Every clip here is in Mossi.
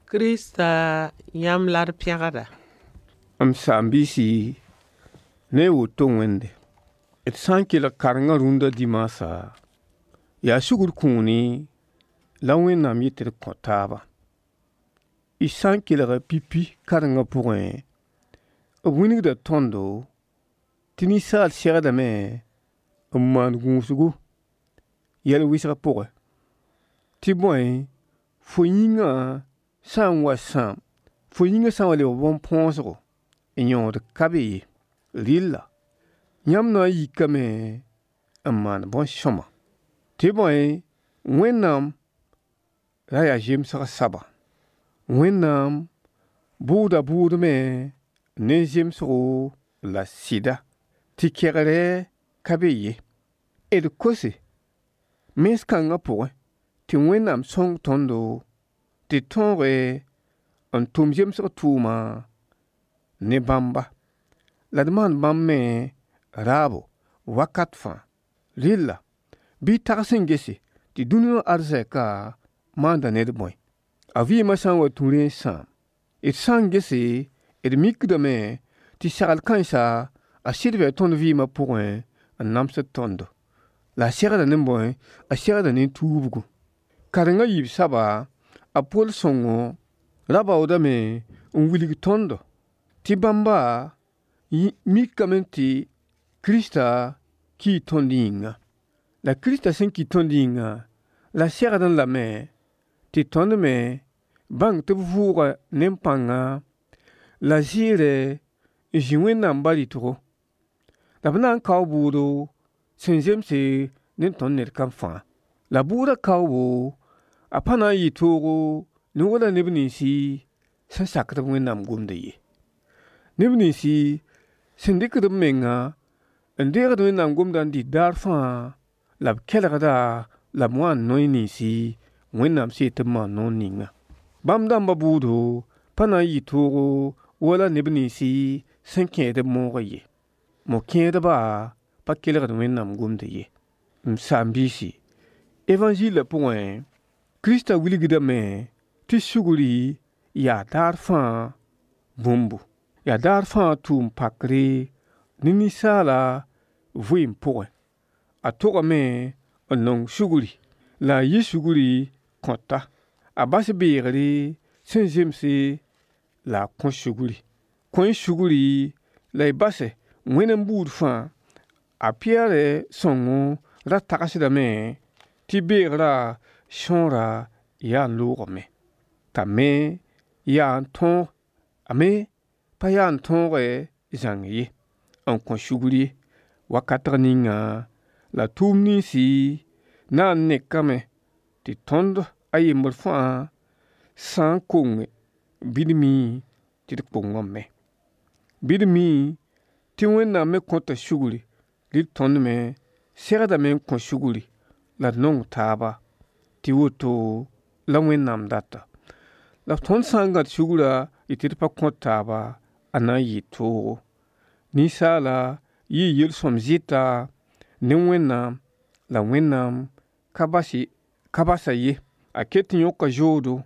Krista yãmb la d pẽgda. M saam-biisi, ne woto Wẽnde, d sã n kelg karengã rũndã dimaasã, yaa sugr kũuni la Wẽnnaam yet tɩ d kõ taaba. Y sã n kelga pipi karengã pʋgẽ, b wilgda tõndo tɩ ninsaal segdame n maan gũusgu yɛl wɩsg pʋgẽ, tɩ bõe, fo yĩngã sã n wa sãam, fo yĩngã sã n wa lebg bõn-põosgo, yõod ka be ye. Rɩlla yãmb na n yikame n maan bõn-sõma, tɩ bõe, Wẽnnaam ra yaa zemsg soaba. Wẽnnaam bʋʋda bʋʋdme ne zemsgo la sɩda, tɩ kɛgrɛ ka be ye. D kose mens kãngã pʋgẽ tɩ Wẽnnaam sõng tõndo tɩ tõoge n tʋm zemsg tʋʋma ne bãmba, la d maan bãmb me raabo wakat fãa. Rɩlla bɩ y tags n gese tɩ dũni wã arzɛka maanda ned bõe? A vɩɩmã sã n wa tũ rẽ n sãam. D sã n gese, d mikdame tɩ sagl kãensa a sɩd bɩ tõnd vɩɩmã pʋgẽ n namsd tõndo. La a segda ne bõe? A segda ne tuubgu. Karengã yiib soaba, a Pol sõngo ra baoodame n wilg tõndo tɩ bãmba mikame tɩ Krista kii tõnd yĩnga. La Krista sẽn ki tõnd yĩnga, la segdẽ lame tɩ tõnd me bãng tɩ b vʋʋga ne pãnga la zɩɩrɛ n zĩ Wẽnnaam ba-rɩtgo. La b na n kao bʋʋdo sẽn zemse ne tõnd ned kam fãa. La bʋʋda kaoobo, a pa na n yɩ toogo ne wala neb ninsi sẽn sakd b Wẽnnaam gomdã ye. Neb ninsi sẽn dɩkd b menga n deegd Wẽnnaam gomdã n dɩt daar fãa, la b kelgda, la b wa n noy ninsi Wẽnnaam sẽn yet tɩ b maan noor ninga. Bãmb dãmbã bʋʋdo pa na n yɩ toogo wala neb ninsi sẽn kẽed b moogã ye. Mo-kẽedba pa kelgd Wẽnnaam gomdã ye. M saam-biisi, évangilã pʋgẽ, Krista wilgdame tɩ sugri yaa daar fãa bũmbu, yaa daar fãa tʋʋm pakre ne ninsaala vɩɩm pʋgẽ. A togame n nong sugri, la a yɩ sugri kõta. A bas beegre sẽn zemse la a kõ sugri. Kõ-y sugri la y base Wẽnd n buud fãa. A Pɩyɛɛr sõngo ra tagsdame tɩ beegrã sõora yaa n loogame, t'a me yaa n tõog, a me pa yaa n tõoge zãng ye, n kõ sugr ye. Wakatg ninga la tʋʋm ninsi na n nekame tɩ tõnd a yembr fãa sã n konge, bɩ d mi tɩ d kongame. Bɩ d mi tɩ Wẽnnaam me kõta sugri, rɩ tõnd me segdame n kõ sugri la d nong taaba, tɩ woto la Wẽnnaam data. La tõnd sã n gãd sugrã yetɩ d pa kõt taaba, a na n yɩ toogo. Ninsaala yɩɩ yel-sõm zɩta ne Wẽnnaam, la Wẽnnaam ka basa ye. A ket n yõka zoodo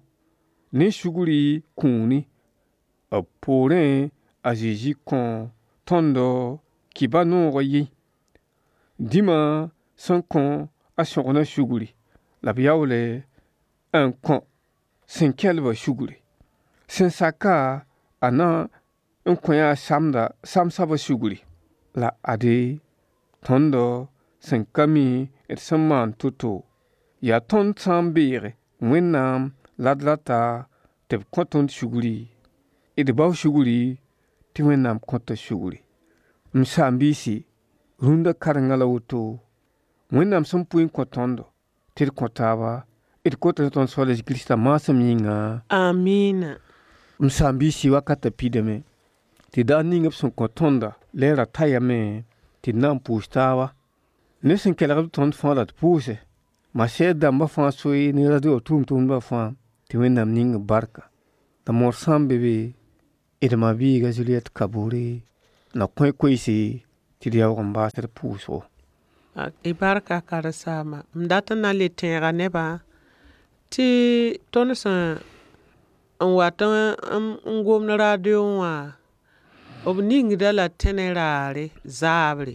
ne sugri kũuni. B poorẽ a Zezi kõ tõndo kɩba noogã yẽ. Dĩmã sẽn kõ a sõgna sugri, la b yaoole n kõ sẽn kelbã sugri. Sẽn saka a na n kõ-a samda samsabã sugri. La ade tõndo sẽn ka mi d sẽn maan to-to, yaa tõnd sã n beege Wẽnnaam la d rata tɩ b kõ tõnd sugri, d bao sugri tɩ Wẽnnaam kõta sugri. M saam-biisi, rũndã karengã la woto, Wẽnnaam sẽn pʋɩ n kõ tõndo tɩ d kõ taaba, d kota ne tõnd Soaal a Kirista maasem yĩnga. Amina. M saam-biisi, wakatã pidame tɩ daar ning b sẽn kõ tõnda lɛɛra tayame tɩ d na n pʋʋs taaba. Ne sẽn kelgd b tõnd fãa la d pʋʋse. Masɛɛd dãmbã fãa soe ne radio tʋʋm-tʋmdbã fãa tɩ Wẽnnaam ning b barka. La moor sã n be be, d ma-biiga Juliette Kabore na kõ koeese tɩ d yaoog n baas d pʋʋsgo. Y barka karen-saama. M dat n na n le tẽega nebã tɩ tõnd sẽn N wat n gomd radio wã, b ningda la tẽne raare zaabre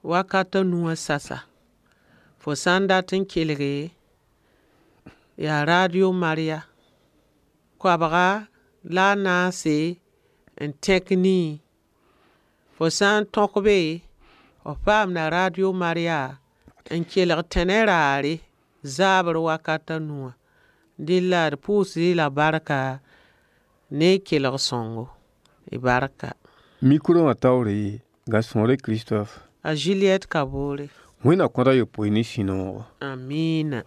wakat a nu wã sasa. Fo sã n dat n kelge, yaa radio Maria. Koabga la a naase n tẽk nii. Fo sã n tõk be, f paamda radio Maria n kelg tẽne raare zaabr wakat a nu wã. Dẽ la d pʋʋsd-y la barka ne y kelg sõngo. Y barka. Micro wã taoore Gasõore Christophe. A Juliette Kabore. Wẽnna kõta yopoe ne sũ-noogo. Amina.